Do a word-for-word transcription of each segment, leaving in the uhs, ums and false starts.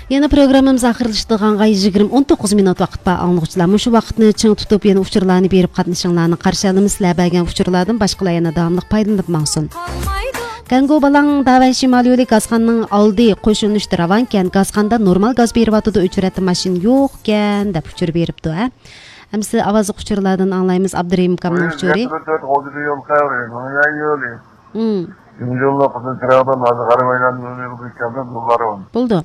يەنە پروگراممىمىز ئاخىرلىشىدىغانغا يىگىرمە، ئون توققۇز مىنۇت ۋاقىت بار، ئاڭلىغۇچىلار. مۇشۇ ۋاقىتنى چىڭ تۇتۇپ، يەنە ئۇچۇرلارنى بېرىپ قاتنىشىڭلارنى قارشى ئالىمىز. سىلەر بەرگەن ئۇچۇرلاردىن باشقىلار يەنە داۋاملىق پايدىلىنىپ ماڭسۇن. گەنگۇ بالاڭ داۋەن شىمال يولى گازخانىنىڭ ئالدى قوشۇلۇشتا راۋانكەن، گازخانىدا نورمال گاز بېرىۋاتىدۇ، ئۆچرەتتە ماشىنا يوقكەن، دەپ ئۇچۇر بېرىپتۇ، ھە. ئەمسە ئاۋازلىق ئۇچۇرلاردىن ئاڭلايمىز، ئابدۇرېھىم ئۇكامنىڭ ئۇچۇرى. يول قەۋرى، يول يولى. مم. يول يولى قىزىل چىراغدىن ھازىر غەربەيلەن يول يولى كەلدى، يوللار بار. بولدى.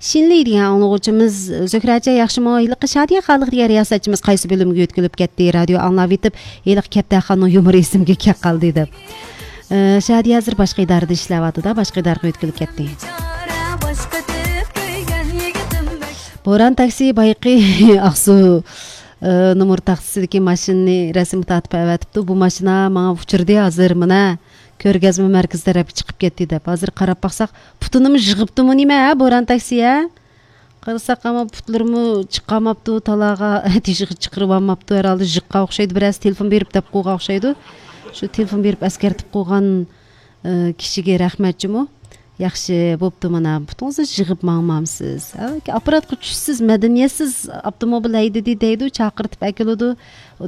شىنلى دېگەن ئاڭلىغۇچىمىز، زۆھرەجان ياخشىمۇ؟ ھېلىقى شادىيە خالىق دېگەن رىياسەتچىمىز قايسى بۆلۈمگە يۆتكىلىپ كەتتى؟ رادىيو ئاڭلاۋېتىپ، ھېلىقى كەپتەرخاننىڭ يۇمۇرى ئېسىمگە كەپ قالدى دەپ. ئە، شادىيە ھازىر باشقا ئىدارىدە ئىشلەۋاتىدۇ، باشقا ئىدارىگە يۆتكىلىپ كەتتى. بوران تاكسى بايىقى ئاقسۇ، ئە، نومۇر تاختىسىدىكى ماشىنىنى رەسىمگە تارتىپ ئەۋەتىپتۇ. بۇ ماشىنا ماڭا ئۇچرىدى ھازىر، مانا. كۆرگەزمە مەركىزى تەرەپكە چىقىپ كەتتى دەپ. ھازىر قاراپ باقساق، پۇتىنىمۇ يىغىپتىمۇ نېمە، ھە، بوران تاكسى، ھە؟ قارىساق، ئەمما پۇتلىرىمۇ چىقارماپتۇ، تالاغا تېشىغا چىقىرىۋالماپتۇ. ھەرھالدا يىغقان ئوخشايدۇ، بىرەرسى تېلېفون بېرىپ دەپ قويغان ئوخشايدۇ. شۇ تېلېفون بېرىپ ئەسكەرتىپ قويغان، ئە، كىشىگە رەھمەت جۇمۇ. ياخشى بوپتۇ، مانا، پۇتىڭىزنى يىغىپ ماڭمامسىز؟ ھە، ئاپپاراتقا چۈشسىز، مەدەنىيەتسىز ئاپتوموبىل ھەيدىدى دەيدۇ، چاقىرتىپ ئەكېلىدۇ،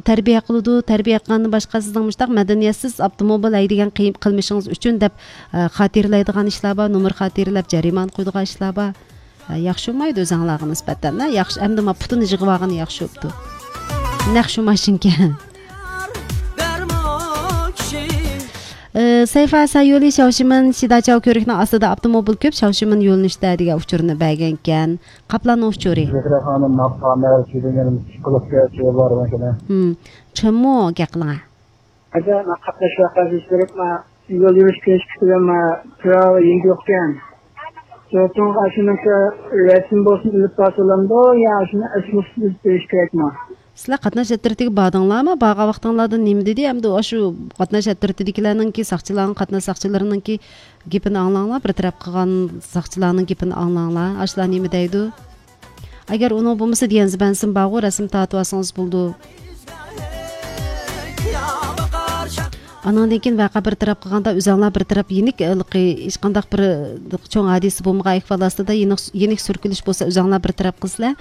تەربىيە قىلىدۇ، تەربىيە قىلغاندىن باشقا سىزنىڭ مۇشۇنداق مەدەنىيەتسىز ئاپتوموبىل ھەيدىگەن قىي-، قىلمىشىڭىز ئۈچۈن دەپ، ئە، خاتىرىلەيدىغان ئىشلار بار، نومۇر خاتىرىلەپ جەرىمانە قويىدىغان ئىشلار بار. ھە، ياخشى بولمايدۇ ئۆزۈڭلارغا نىسبەتەن، ھە؟ ياخشى، ئەمدى ما پۇتىنى يىغىۋالغىنى ياخشى بوپتۇ. نەق شۇ ماشىنىكەن. ئى، سەيفا سايولى شاۋشىمىن شىداچاۋ كۆۋرۈكنىڭ ئاستىدا ئاپتوموبىل كۆپ، شاۋشىمىن يۆنىلىشتە دېگەن ئۇچۇرنى بەرگەنكەن. قاپلاننىڭ ئۇچۇرى. زۆھرە خانىم، ماقا مەرچىدىن يەنە ئىككى كىلو سىگارەت چېكىپ بارغان كېلە. ھىم. چىڭمۇ گەپ قىلىڭە. ھەدە، ما قاتناش ۋەقەسى كۆرۈپ، ما يول يۈرۈش كېلىش كۈتۈۋەن، ما پىراۋا يېڭىلىقكەن. زوتۇڭغا ئاشۇنىڭكى رەسىم بولسۇن ئېلىپ بارسا بولامدۇ يا ئاشۇنى ئەسلىسىنى ئېلىپ بېرىش كېرەكمۇ؟ سىلەر قاتناش ئەترىتىگە باردىڭلارمۇ؟ بارغان ۋاقتىڭلاردا نېمە دېدى؟ ئەمدى ئاشۇ قاتناش ئەترىتىدىكىلەرنىڭكى، ساقچىلارنىڭ، قاتناش ساقچىلىرىنىڭكى گېپىنى ئاڭلاڭلار، بىر تەرەپ قىلغان ساقچىلارنىڭ گېپىنى ئاڭلاڭلار. ئاشۇلار نېمە دەيدۇ؟ ئەگەر ئۇنىڭ بولمىسا، دىيەنزبەنسىم بارغۇ، رەسىم تارتىۋالسىڭىز بولىدۇ. ئانىڭدىن كېيىن ۋەقە بىر تەرەپ قىلغاندا، ئۆزۈڭلار بىر تەرەپ يېنىك، ھېلىقى ھېچقانداق بىر چوڭ ھادىسە بولمىغان ئەھۋال ئاستىدا، يېنىك، يېنىك سۈركىلىش بولسا، ئۆزۈڭلار بىر تەرەپ قىلىسىلەر.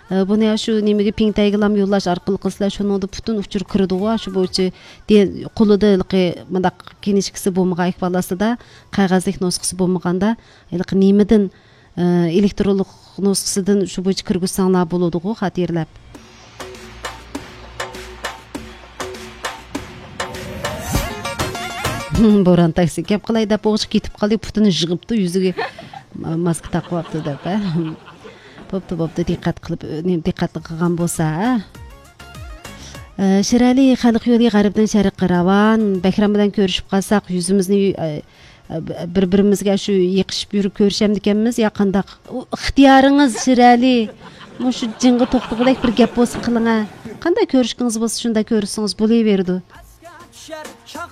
ئە، بۇنى شۇ نېمىگە، پىڭتەيگىلام يوللاش ئارقىلىق قىلسىلەر، شۇنىڭدا پۈتۈن ئۇچۇر كىرىدىغۇ، شۇ بويىچە دې-، قولىدا ھېلىقى مۇنداق كىنىشكىسى بولمىغان ئەھۋال ئاستىدا، قەغەزلىك نۇسخىسى بولمىغاندا، ھېلىقى نېمىدىن، ئە، ئېلېكترونلۇق نۇسخىسىدىن شۇ بويىچە كىرگۈزسەڭلار بولىدىغۇ، خاتىرىلەپ. بوران تاكسى گەپ قىلاي دەپ، ئوغۇچقا كېتىپ قالدى، پۇتىنى يىغىپتۇ، يۈزىگە ماسكا تاقىۋاپتۇ دەپ، ھە. بوپتۇ، بوپتۇ، دىققەت قىلىپ، نېمە، دىققەتنى قىلغان بولسا، ھە. ئە، شىرئەلى، خەلق يولى غەربتىن شەرققە راۋان. بەكرەم بىلەن كۆرۈشۈپ قالساق، يۈزىمىزنى، ئە، بىر-بىرىمىزگە شۇ يېقىشىپ يۈرۈپ كۆرۈشەمدىكەنمىز يا قانداق؟ ئۇ ئىختىيارىڭىز، شىرئەلى. مۇشۇ جىڭغا توختىغۇدەك بىر گەپ بولسا قىلىڭە. قانداق كۆرۈشكىڭىز بولسا، شۇنداق كۆرۈشسىڭىز بولۇۋېرىدۇ.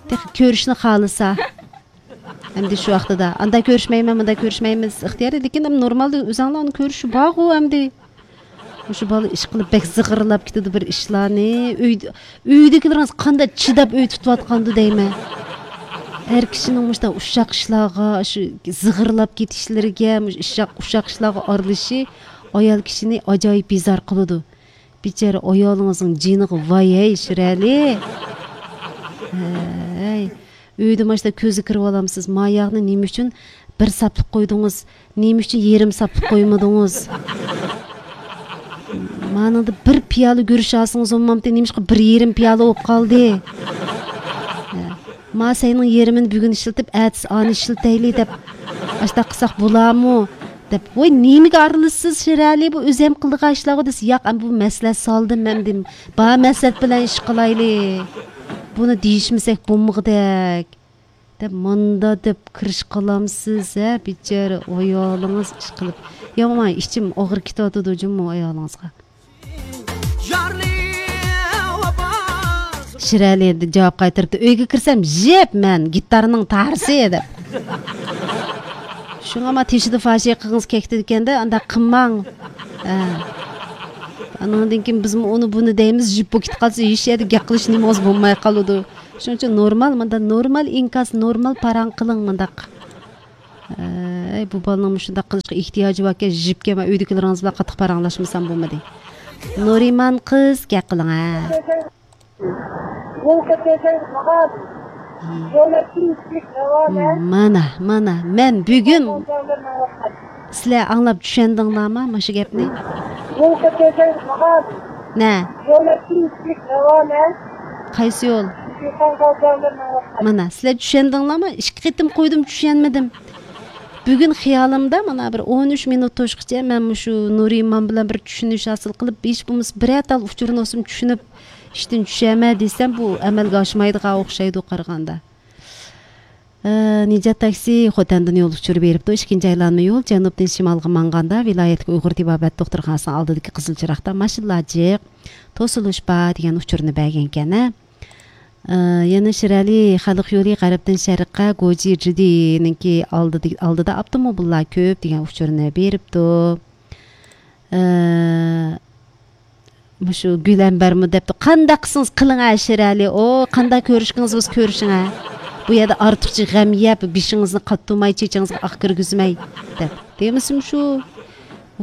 تېخى كۆرۈشنى خالىسا. ئەمدى شۇ ۋاقتىدا، ئاندا كۆرۈشمەيمەن، مۇندا كۆرۈشمەيمىز، ئىختىيارى، لېكىن نورمالدا ئۆزەڭلارنىڭ كۆرۈشى بارغۇ ئەمدى. مۇشۇ بالا ئىشقىلىپ بەك زىغىرلاپ كېتىدۇ بىر ئىشلارنى. ئۆيدە، ئۆيدىكىلىرىڭىز قانداق چىداپ ئۆي تۇتۇۋاتقاندۇ دەيمەن. ئەر كىشىنىڭ مۇشۇنداق ئۇششاق ئىشلارغا، شۇ زىغىرلاپ كېتىشلىرىگە، مۇشۇ ئۇششاق، ئۇششاق ئىشلارغا ئارىلىشىشى ئايال كىشىنى ئاجايىپ بىزار قىلىدۇ. بىچارە ئايالىڭىزنىڭ جېنىغا ۋاي ھەي، شىرئەلى. ھەي. ئۆيدە ماشتا كۆزگە كىرىۋالامسىز؟ ما ياغنى نېمە ئۈچۈن بىر ساپلىق قويدىڭىز؟ نېمە ئۈچۈن يېرىم ساپلىق قويمىدىڭىز؟ مانىڭدا بىر پىيالە گۈرۈچ ئالسىڭىز بولمامتى؟ نېمىشقا بىر يېرىم پىيالە بولۇپ قالدى؟ ھە. ما سەينىڭ يېرىمىنى بۈگۈن ئىشلىتىپ، ئەتىسى ئانى ئىشلىتەيلى دەپ، ئاشتاق قىلساق بولامۇ؟ دەپ، ۋاي، نېمىگە ئارىلىشىسىز، شىرئەلى، بۇ ئۆزۈم قىلىدىغان ئىشلارغۇ دېسە، ياق، ئەمدى بۇ مەسلىھەت سالدىم، ئەمدى بار مەسلىھەت بىلەن ئىش قىلايلى. بۇنى دېيىشمىسەك بولمىغۇدەك. دەپ، ماندا دەپ كىرىش قىلامسىز، ھە، بىچارە ئايالىڭىز ئىش قىلىپ. يا، ماڭا ئىچىم ئاغرىپ كېتىۋاتىدۇ جۇمۇ ئايالىڭىزغا. شىرئەلى جاۋاب قايتۇرۇپتۇ، ئۆيگە كىرسەم، يەپ مەن، گىتارنىڭ تارىسى، دەپ. شۇڭا ما تېشىدا فاشىقىڭىز كەكتىدىكەندە، ئانداق قىلماڭ. ھە. ئانىڭدىن كېيىن بىزمۇ ئۇنى بۇنى دەيمىز، يىپ بولۇپ كېتىپ قالسا، ھېچ يەردە گەپ قىلىش نېمىڭىز بولماي قالىدۇ. شۇنىڭ ئۈچۈن نورمال، مۇنداق نورمال ئىنكاس، نورمال پاراڭ قىلىڭ مۇنداق. ئەي، بۇ بالىنىڭ مۇشۇنداق قىلىشقا ئېھتىياجى باركەن، جىپكە مەن ئۆيدىكىلىرىڭىز بىلەن قاتتىق پاراڭلاشمىسام بولمىدى. نۇرىمان قىز، گەپ قىلىڭ ھە. مانا، مانا، مەن بۈگۈن، سىلەر ئاڭلاپ چۈشەندىڭلارمۇ مۇشۇ گەپنى؟ نە؟ قايسى يول؟ مانا، سىلەر چۈشەندىڭلارمۇ؟ ئىككى قېتىم قويدۇم، چۈشەنمىدىم. بۈگۈن خىيالىمدا مانا بىر ئون ئۈچ مىنۇت توشقىچە مەن مۇشۇ نۇرىمان بىلەن بىر چۈشىنىش ھاسىل قىلىپ، ھېچ بولمىسا بىرەر تال ئۇچۇرنى بولسىمۇ چۈشىنىپ، ئىشتىن چۈشەمەن دېسەم، بۇ ئەمەلگە ئاشمايدىغان ئوخشايدۇ قارىغاندا. ئە، نىجات تاكسى خوتەندىن يول ئۇچۇرى بېرىپتۇ. ئىككىنچى ئايلانما يول جەنۇبتىن شىمالغا ماڭغاندا، ۋىلايەتلىك ئۇيغۇر تېبابەت دوختۇرخانىسىنىڭ ئالدىدىكى قىزىل چىراغدا ماشىنىلار جىق، توسۇلۇش بار دېگەن ئۇچۇرنى بەرگەنكەن ھە. ئە، يەنە شىرئەلى خەلق يولى غەربتىن شەرققە گوجى جىدىنىڭكى ئالدىدا، ئالدىدا ئاپتوموبىللار كۆپ دېگەن ئۇچۇرنى بېرىپتۇ. ئە، مۇشۇ گۈلەمبەرمۇ دەپتۇ، قانداق قىلسىڭىز قىلىڭ ھە شىرئەلى، ئو، قانداق كۆرۈشكىڭىز بولسا كۆرۈشۈڭ ھە. بۇ يەردە ئارتۇقچە غەم يەپ، بېشىڭىزنى قاتتۇرماي، چېچىڭىزغا ئاق كىرگۈزمەي، دەپ. دېمىسىمۇ شۇ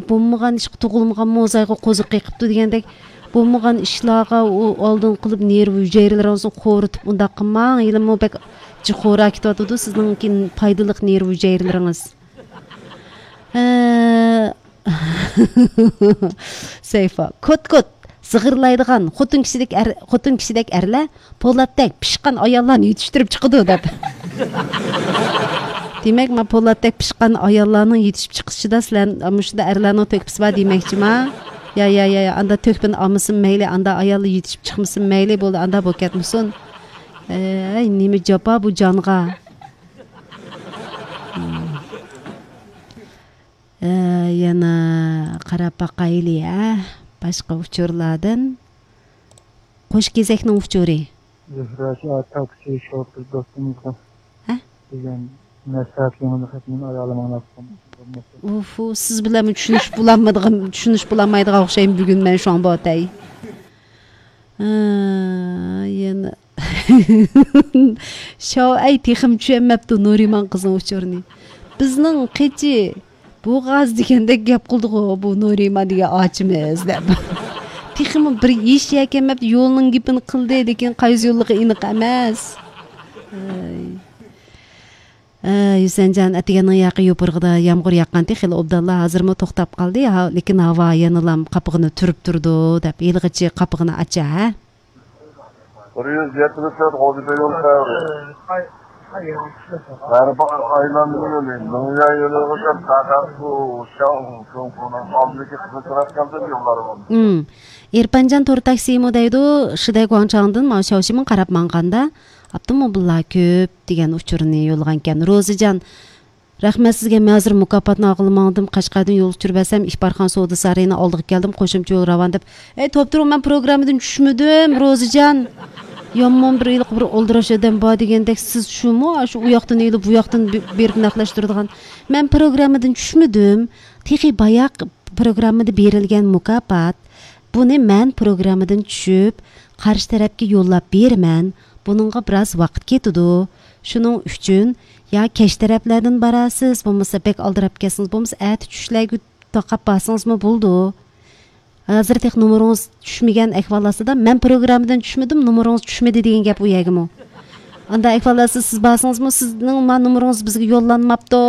بولمىغان ئىشقا تۇغۇلمىغان موزايغا قوزۇق قېقىپتۇ دېگەندەك، بولمىغان ئىشلارغا ئۇ ئالدىن قىلىپ نېرۋا ھۈجەيرىلىرىڭىزنى قورۇتۇپ ئۇنداق قىلماڭ. ھېلىمۇ بەك جىق خورا كېتىۋاتىدۇ سىزنىڭكى پايدىلىق نېرۋا ھۈجەيرىلىرىڭىز. ھە. سەيفا، كوت كوت، زىغىرلايدىغان خوتۇن كىشىدەك ئەر، خوتۇن كىشىدەك ئەرلەر پولاتتەك پىشقان ئاياللارنى يېتىشتۈرۈپ چىقىدۇ دەپ. دېمەك، ما پولاتتەك پىشقان ئاياللارنىڭ يېتىشىپ چىقىشىدا سىلەر مۇشۇنداق ئەرلەرنىڭ تۆھپىسى بار دېمەكچىما؟ يا، يا، يا، يا، ئاندا تۆھپىنى ئالمىسۇن مەيلى، ئاندا ئاياللار يېتىشىپ چىقمىسۇن مەيلى، بولدى، ئاندا بولۇپ كەتمىسۇن. ئەي، نېمە جاپا بۇ جانغا. ئە، يەنە قاراپ باقايلى، ھە، باشقا ئۇچۇرلاردىن. قوش كېزەكنىڭ ئۇچۇرى. زۆھرە شائىر تاكسى شوپۇر دوستىمىزغا ھە؟ دېگەن نەسىھەت يېڭىلىق خەتنى ئايالىم ئاڭلاتقان. ئۇفۇ، سىز بىلەنمۇ چۈشىنىشىپ بولالمىدىغان، چۈشىنىشىپ بولالمايدىغان ئوخشايمەن بۈگۈن مەن شۇڭا بۇ ئاتاي. ئە، يەنە شاۋ، ئەي، تېخىمۇ چۈشەنمەپتۇ نۇرىمان قىزنىڭ ئۇچۇرىنى. بىزنىڭ قېچى بوغاز دېگەندەك گەپ قىلدىغۇ بۇ نۇرىمان دېگەن ئاچىمىز دەپ. تېخىمۇ بىر ھېچ يەكەنمەپتۇ، يولنىڭ گېپىنى قىلدى، لېكىن قايسى يوللۇقى ئېنىق ئەمەس. ئەي. ئە، ھۈسەنجان ئەتىگەننىڭ ياقى يوپۇرغىدا يامغۇر ياغقانتى، خېلى ئوبدانلا، ھازىرمۇ توختاپ قالدى، ھا، لېكىن ھاۋا يەنىلام قاپىقىنى تۈرۈپ تۇرىدۇ دەپ، ھېلىغىچە قاپىقىنى ئاچا، ھە؟ بىر يۈز يەتمىش تۆت غوجىبېي يول خەۋىرى. غەربىي ئايلانما يولى، دۇنيا يولىغىچە تاكاتسۇ، شاڭ، شۇڭخۇنىڭ ئالدىدىكى قىزىل چىراغ كەلدى يوللارغا. ئىم. ئېرپانجان تور تاكسىمۇ دەيدۇ، شىدەي گۇاڭچاڭدىن ماۋۇ شاۋشىمىن قاراپ ماڭغاندا، ئاپتوموبىللار كۆپ دېگەن ئۇچۇرنى يوللىغانىكەن. روزىجان، رەھمەت سىزگە، مەن ھازىر مۇكاپاتنى ئالغىلى ماڭدىم، قەشقەردىن يول ئۇچۇر بەرسەم، ئىپارخان سودا سارىيىنىڭ ئالدىغا كەلدىم، قوشۇمچە يول راۋان دەپ. ئەي، توپتۇرۇڭ، مەن پروگراممىدىن چۈشمىدىم، روزىجان. يامان بىر ھېلىقى بىر ئالدىراش ئادەم بار دېگەندەك، سىز شۇمۇ؟ شۇ ئۇ ياقتىن ئېلىپ، بۇ ياقتىن بېرىپ نەقلەشتۈرىدىغان. مەن پروگراممىدىن چۈشمىدىم. تېخى باياق پروگراممىدا بېرىلگەن مۇكاپات. بۇنى مەن پروگراممىدىن چۈشۈپ، قارشى تەرەپكە يوللاپ بېرىمەن. بۇنىڭغا بىراز ۋاقىت كېتىدۇ. شۇنىڭ ئۈچۈن يا كەچ تەرەپلەردىن بارارسىز، بولمىسا بەك ئالدىراپ كەتسىڭىز، بولمىسا ئەتە چۈشلەرگە تاقاپ بارسىڭىزمۇ بولىدۇ. ھازىر تېخى نومۇرىڭىز چۈشمىگەن ئەھۋال ئاستىدا، مەن پروگراممىدىن چۈشمىدىم، نومۇرىڭىز چۈشمىدى دېگەن گەپ ئۇ يەرگىمۇ. ئاندا ئەھۋال ئاستىدا سىز بارسىڭىزمۇ، سىزنىڭ ما نومۇرىڭىز بىزگە يوللانماپتۇ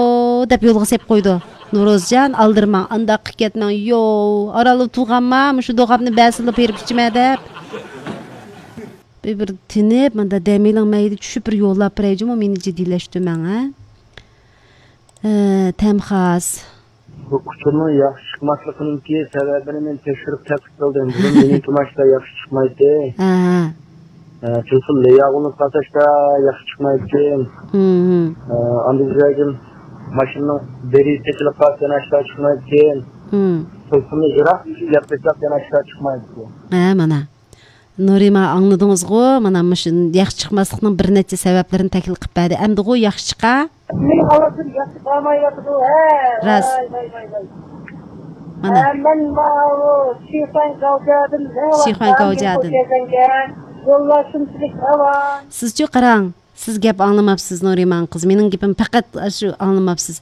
دەپ يولغا سېلىپ قويىدۇ. نورازجان، ئالدىرىماڭ، ئانداق قىلىپ كەتمەڭ، يو، ئارانلا تۇغانما، مۇشۇ دوغاپنى بەسىلا بېرىپ ئىچىمەن دەپ. بىر، بىر تىنىپ، مۇندا دەم ئېلىڭ، مەيدە چۈشۈپ بىر يوللاپ بېرەي جۇمۇ، مېنى جىددىيلەشتۈرمەڭ، ھە؟ ئە، تەمخاس. بۇ ئۇچۇرنىڭ ياخشى چىقماسلىقىنىڭكى سەۋەبىنى مەن تەكشۈرۈپ تەتقىق قىلدىم. بۇرۇن مېنىڭكىمۇ ئاشتا ياخشى چىقمايتتى. ھە. ئە، تېلېفون لەياغۇنلۇق پاساشتا ياخشى چىقمايتتى. ھىم، ھىم. ئە، ئاندىن كېيىن ماشىنىنىڭ بىرى تېقىلىپ قالسا يەنە ئاشتا چىقمايتتى. ھىم. تېلېفوننى يىراق يەپ قويساق يەنە ئاشتا چىقمايتتى. ھە، مانا. نۇرىما، ئاڭلىدىڭىزغۇ؟ مانا مۇشۇ ياخشى چىقماسلىقنىڭ بىر نەچچە سەۋەبلىرىنى تەھلىل قىلىپ بەردى. ئەمدىغۇ ياخشى چىقا؟ مېنىڭ ئاۋازىم ياخشى بارمايۋاتىدۇ، ھە. راست. ۋاي، ۋاي، ۋاي، ۋاي. مانا. ھە، مەن ماۋۇ شىخۇەن گاۋجيادىن، شىخۇەن گاۋجيادىن. يوللار شۇنچىلىك راۋان. سىزچۇ قاراڭ. سىز گەپ ئاڭلىماپسىز، نۇرىمان قىز. مېنىڭ گېپىمنى پەقەت شۇ ئاڭلىماپسىز.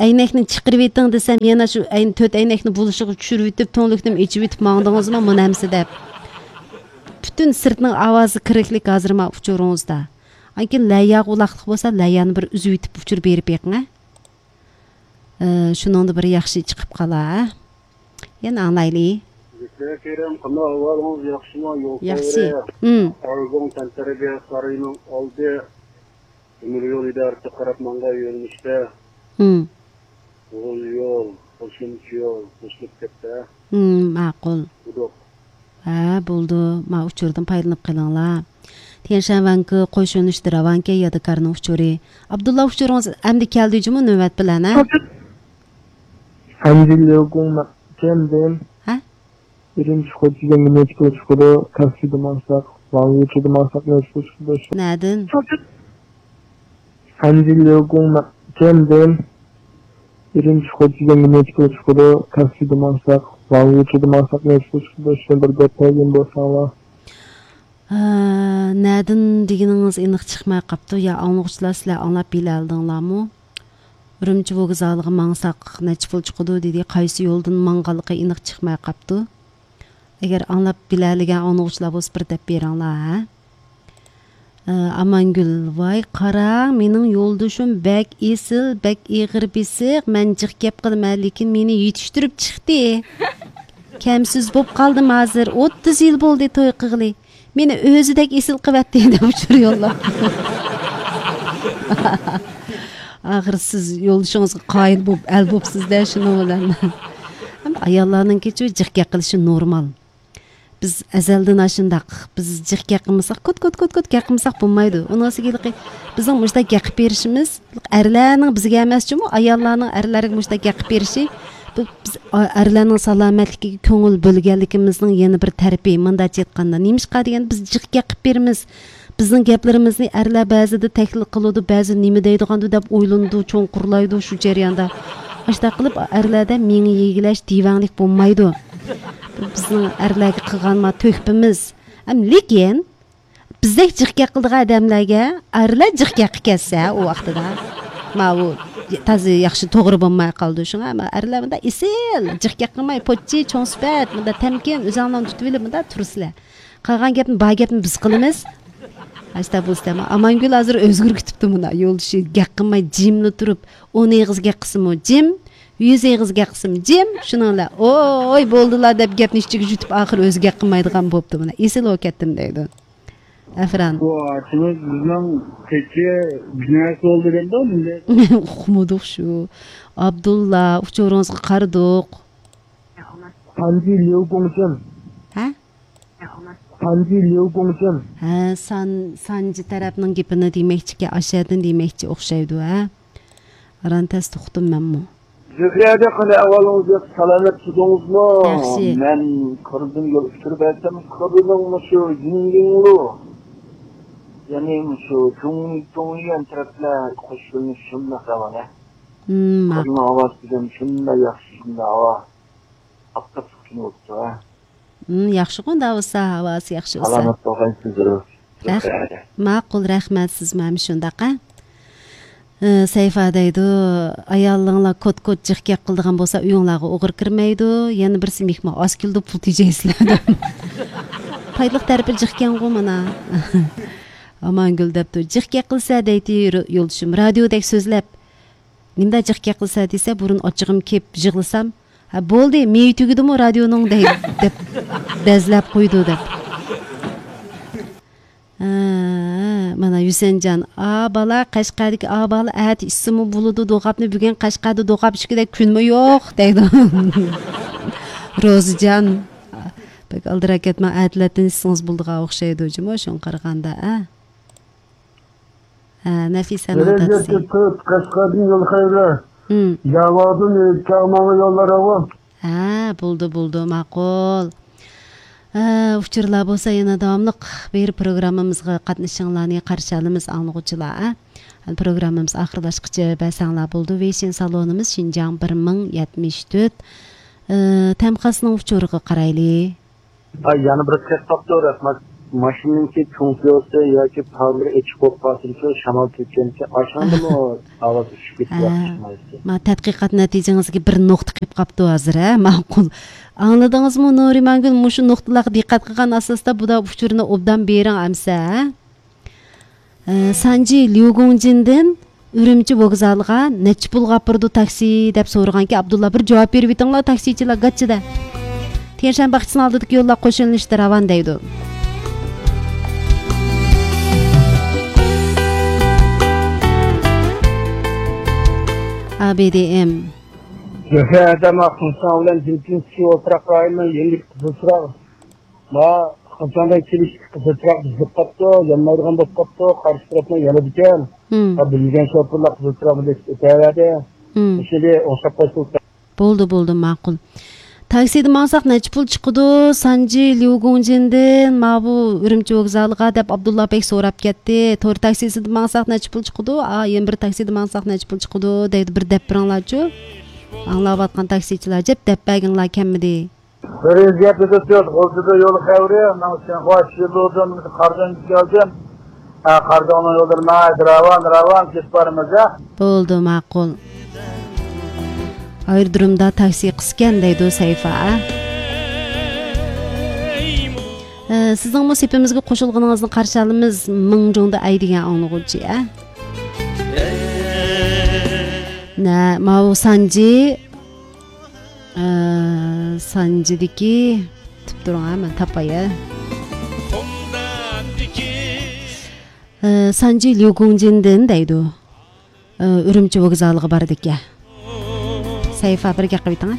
ئەينەكنى چىقىرىۋېتىڭ دېسەم، يەنە شۇ ئەينى تۆت ئەينەكنى بولۇشىغا چۈشۈرۈۋېتىپ، تۈڭلۈكنىمۇ ئېچىۋېتىپ ماڭدىڭىزمۇ، مۇنەمسە دەپ. پۈتۈن سىرتنىڭ ئاۋازى كىرىكلىك ھازىر ما ئۇچۇرىڭىزدا. ئاندىن كېيىن لەيياغا ئۇلاقلىق بولسا، لەييانى بىر ئۈزۈۋېتىپ ئۇچۇر بېرىپ بېقىڭ، ھە. ئى، شۇنىڭدا بىر ياخشى چىقىپ قالا، ھە. يەنە ئاڭلايلى. زۆھرە كېرەم، قانداق ئەھۋالىڭىز، ياخشىمۇ؟ يول ياخشى. سەيرى، ئارزۇڭ تەنتەربىيە سارىيىنىڭ ئالدى تۆمۈر يول ئىدارىسىگە قاراپ ماڭغان يۆنىلىشتە. ئۇ يول، قوشۇمچە يول قوشۇلۇپ كەتتى، ھە؟ ماقۇل. قۇدۇق. ھە، بولدى. ما ئۇچۇردىن پايدىلىنىپ قېلىڭلار. تيەنشانۋەنكى قوش يۆنىلىشتە راۋانكەن يادىكارنىڭ ئۇچۇرى. ئابدۇللا، ئۇچۇرىڭىز ئەمدى كەلدى جۇمۇ نۆۋەت بىلەن، ھە؟ ئەنجىل ليۇگۇڭ كەلدى. ھە؟ ئۈرۈمچى خوجىگەنگە نەچچە پۇل چىقىدۇ؟ تاكسىدا ماڭساق، ۋاڭيۈچىدا ماڭساق نەچچە پۇل چىقىدۇ؟ نەدىن؟ ئەنجىل ليۇگۇڭ كەلدى. ئۈرۈمچى خوجىگەنگە نەچچە پۇل چىقىدۇ؟ تاكسىدا ماڭساق، ۋاڭيۈچىدا ماڭساق نەچچە پۇل چىقىدۇ؟ شۇنى بىر دەپ بەرگەن بولساڭلار. ھە، نەدىن دېگىنىڭىز ئېنىق چىقماي قاپتۇ. يا ئاڭلىغۇچىلار، سىلەر ئاڭلاپ بىلەلدىڭلارمۇ؟ ئۈرۈمچى ۋوگزالىغا ماڭساق نەچچە پۇل چىقىدۇ دېدى. قايسى يولدىن ماڭغانلىقى ئېنىق چىقماي قاپتۇ. ئەگەر ئاڭلاپ بىلەلىگەن ئاڭلىغۇچىلار بولسا، بىر دەپ بېرىڭلار، ھە؟ ئە، ئامانگۈل، ۋاي قاراڭ، مېنىڭ يولدىشىم بەك ئېسىل، بەك ئېغىر بېسىق، مەن جىق گەپ قىلىمەن، لېكىن مېنى يېتىشتۈرۈپ چىقتى. كەمسىز بوپ قالدىم ھازىر، ئوتتۇز يىل بولدى توي قىلغىلى. مېنى ئۆزىدەك ئېسىل قىلىۋەتتى دەپ ئۇچۇر يوللاپتۇ. ئاخىر سىز يولدىشىڭىزغا قايىل بوپ، ئەل بوپسىز-دە شۇنىڭ بىلەن. ئەمدى ئاياللارنىڭكىچۇ جىق گەپ قىلىشى نورمال. بىز ئەزەلدىن ئاشۇنداق. بىز جىق گەپ قىلمىساق، كوت، كوت، كوت، كوت گەپ قىلمىساق بولمايدۇ. ئۇنىڭسى ھېلىقى بىزنىڭ مۇشۇنداق گەپ قىلىپ بېرىشىمىز، ئەرلەرنىڭ بىزگە ئەمەسچۇمۇ، ئاياللارنىڭ ئەرلەرگە مۇشۇنداق گەپ قىلىپ بېرىشى، بۇ بىز ئا-، ئەرلەرنىڭ سالامەتلىكىگە كۆڭۈل بۆلگەنلىكىمىزنىڭ يەنە بىر تەرىپى. مۇنداقچە ئېيتقاندا، نېمىشقا دېگەندە، بىز جىق گەپ قىلىپ بېرىمىز. بىزنىڭ گەپلىرىمىزنى ئەرلەر بەزىدە تەھلىل قىلىدۇ، بەزىدە نېمە دەيدىغاندۇ دەپ ئويلىنىدۇ، چوڭقۇرلايدۇ شۇ جەرياندا. ئاشۇنداق قىلىپ ئەرلەردە مېڭە يېگىلەش، دىۋەڭلىك بولمايدۇ. بۇ بىزنىڭ ئەرلەرگە قىلغان ما تۆھپىمىز. ئەم، لېكىن بىزدەك جىق گەپ قىلىدىغان ئادەملەرگە ئەرلەر جىق گەپ قىلىپ كەتسە ئۇ ۋاقتىدا، ماۋۇ تازا ياخشى توغرا بولماي قالىدۇ. شۇڭا ما ئەرلەر مۇنداق ئېسىل جىق گەپ قىلماي، پوچى، چوڭ سۈپەت، مۇنداق تەمكىن، ئۆزۈڭلارنى تۇتۇۋېلىپ مۇنداق تۇرسىلەر. قالغان گەپنى، بار گەپنى بىز قىلىمىز. ئاشتا بولسا، ئامانگۈل ھازىر ئۆزگىرىپ كېتىپتۇ مانا. يولدىشى گەپ قىلماي جىملا تۇرۇپ، ئون ئېغىز گەپ قىلسىمۇ جىم، يۈز ئېغىز گەپ قىلسىمۇ جىم. شۇنىڭ بىلەن، ۋوي، بولدىلا دەپ گەپنى ئىچىگە يۇتۇپ، ئاخىر ئۆزى گەپ قىلمايدىغان بوپتۇ مانا. ئېسىل بولۇپ كەتتىم دەيدۇ. ئەفران. بۇ ئاچىمىز بىزنىڭ كېچە بىر نەرسە بولدى دەمدۇ، مىللەت. ئۇقمىدۇق شۇ. ئابدۇللا، ئۇچۇرىڭىزغا قارىدۇق. سانجى ليۇگۇڭچىن. ھە؟ سانجى ليۇگۇڭچىن. ھە، سان-، سانجى تەرەپنىڭ گېپىنى دېمەكچىكەن، ئاشەدىن دېمەكچى ئوخشايدۇ، ھە؟ ئاران تەستە ئۇقتۇم مەنمۇ. زۆھرەدە قانداق ئەھۋالىڭىز، ياخشى سالامەت تۇردىڭىزمۇ؟ ياخشى. مەن قىردىن يول ئۇچۇرۇپ بەرسەم، قىرنىڭ مۇشۇ يىڭيىڭلۇ، يەنى مۇشۇ چۇڭ-، چۇڭيۈەن تەرەپلەر قوشۇلۇش شۇنداق راۋان، ھە؟ ھىم، ماقۇل. قىرنىڭ ئاۋازى دېگەن شۇنداق ياخشى، شۇنداق ھاۋا. ئاپتاپلىق كۈن بوپتۇ، ھە؟ ھىم، ياخشىغۇ، ئۇنداق بولسا، ھاۋاسى ياخشى بولسا. سالامەت بولغايسىز، زۆھرە. رەھ-، ماقۇل، رەھمەت، سىزمۇ ھەم شۇنداق، ھە؟ ئى، سەيفا دەيدۇ، ئايالىڭلار كوت-كوت جىق گەپ قىلىدىغان بولسا، ئۆيۈڭلارغا ئوغرى كىرمەيدۇ، يەنە بىرسى مېھمان ئاز كېلىدۇ، پۇل تېجەيسىلەر دەپ. پايدىلىق تەرىپى جىق ئىكەنغۇ مانا. ئامانگۈل دەپتۇ، جىق گەپ قىلسا دەيتتى يولدىشىم، رادىيودەك سۆزلەپ. نېمىدە جىق گەپ قىلسا دېسە، بۇرۇن ئاچچىقىم كېلىپ يىغلىسام، ھە، بولدى، مېيى تۈگىدىمۇ رادىيونىڭ دەي-، دەپ بەزلەپ قويىدۇ دەپ. ھە، مانا ھۈسەنجان، ئا بالا، قەشقەردىكى ئا بالا، ئەتە ئىچسىمۇ بولىدۇ دوغاپنى، بۈگۈن قەشقەردە دوغاپ ئىچكۈدەك كۈنمۇ يوق دەيدۇ. روزىجان، بەك ئالدىراپ كەتمەڭ، ئەتىلەتتىن ئىچسىڭىز بولىدىغان ئوخشايدۇ جۇمۇ، شۇڭا قارىغاندا، ھە. ھە، نەفىسەنىڭ دادىسى. تۆت، قەشقەردىن يول خەيرى. ھىم. ياۋادىن چاغماڭغا يوللار ھاۋا. ھە، بولدى، بولدى، ماقۇل. ھە، ئۇچۇرلار بولسا يەنە داۋاملىق بېرىپ پروگراممىمىزغا قاتنىشىشىڭلارنى قارشى ئالىمىز، ئاڭلىغۇچىلار، ھە. ھەم پروگراممىمىز ئاخىرلاشقۇچە بەرسەڭلار بولىدۇ. ۋېيشىن سالونىمىز شىنجاڭ بىر مىڭ يەتمىش تۆت. ئە، تەمخاسنىڭ ئۇچۇرىغا قارايلى. ھاي، يەنە بىر خەت قاپتۇ، رەھمەت. ماشىنىڭكى تۇڭكىيوسى ياكى پارلىرى ئېچىق بولۇپ قالسىمچۇ، شامال تېپكەنكى ئاشۇندىمۇ ئاۋاز چۈشۈپ كېتىپ ھە. ياخشى چىقمايتتى. ما تەتقىقات نەتىجىڭىزگە بىر نۇقتا قېلىپ قاپتۇ ھازىر، ھە؟ ماقۇل. ئاڭلىدىڭىزمۇ، نۇرىمانگۈل؟ مۇشۇ نۇقتىلارغا دىققەت قىلغان ئاساستا بۇدا ئۇچۇرنى ئوبدان بېرىڭ ئەمسە، ھە؟ ئە، سانجى ليۇگۇڭجىندىن ئۈرۈمچى ۋوگزالىغا نەچچە پۇلغا ئاپىرىدۇ تاكسى دەپ سورىغانكەن، ئابدۇللا، بىر جاۋاب بېرىۋېتىڭلار، تاكسىچىلار گاچچىدە. تيەنشەن باغچىسىنىڭ ئالدىدىكى يوللار قوش يۆنىلىشتە راۋان دەيدۇ. ئا بې دې ئېم. زۆھرە ھەدەم ئاخۇنسان بىلەن جىمتىنسكىي ئولتۇراق رايونىنىڭ يېنىدىكى قىزىل چىراغ. ما، قاچاندىن كېلىشتى، قىزىل چىراغ بۇزۇلۇپ قاپتۇ، يانمايدىغان بولۇپ قاپتۇ، قارشى تەرەپنىڭ يانىدىكەن. ھىم. ھە، بىلگەن شوپۇرلار قىزىل چىراغنى بېسىپ ئۆتەۋەردى. ھىم. مۇشۇنى ئوڭشاپ قويسىڭىز. بولدى، بولدى، ماقۇل. تاكسىدا ماڭساق نەچچە پۇل چىقىدۇ؟ سانجى ليۇگۇڭجىندىن ماۋۇ ئۈرۈمچى ۋوگزالىغا دەپ ئابدۇللا بەگ سوراپ كەتتى. تور تاكسىسىدا ماڭساق نەچچە پۇل چىقىدۇ؟ ئا، يەنە بىر تاكسىدا ماڭساق نەچچە پۇل چىقىدۇ؟ دەيدۇ، بىر دەپ بېرىڭلارچۇ. ئاڭلاۋاتقان تاكسىچىلار جەپ دەپ بەرگىڭلار كەممىدى؟ بىر يۈز يەتتە تۆت غۇلجىدا يول خەۋىرى، ماڭ شىنخۇا شىبۇدىن قاردىن كەلدىم. ھە، قاردىننىڭ يوللىرى ناھايىتى راۋان، راۋان كېتىپ بارىمىز، ھە. بولدى، ماقۇل. ئايرودرومدا تاكسى قىسكەن دەيدۇ سەيفا، ھە. ئە، سىزنىڭمۇ سېپىمىزگە قوشۇلغىنىڭىزنى قارشى ئالىمىز، مىڭجۇڭدا ئەي دېگەن ئاڭلىغۇچى، ھە. نە، ماۋۇ سانجى ئە، سانجىدىكى، كۈتۈپ تۇرۇڭ، ھە، مەن تاپاي، ھە. ئە، سانجى ليۇگۇڭجىندىن دەيدۇ. ئە، ئۈرۈمچى ۋوگزالىغا بارىدىكەن. سەيفا، بىر گەپ قىلىۋېتىڭ، ھە.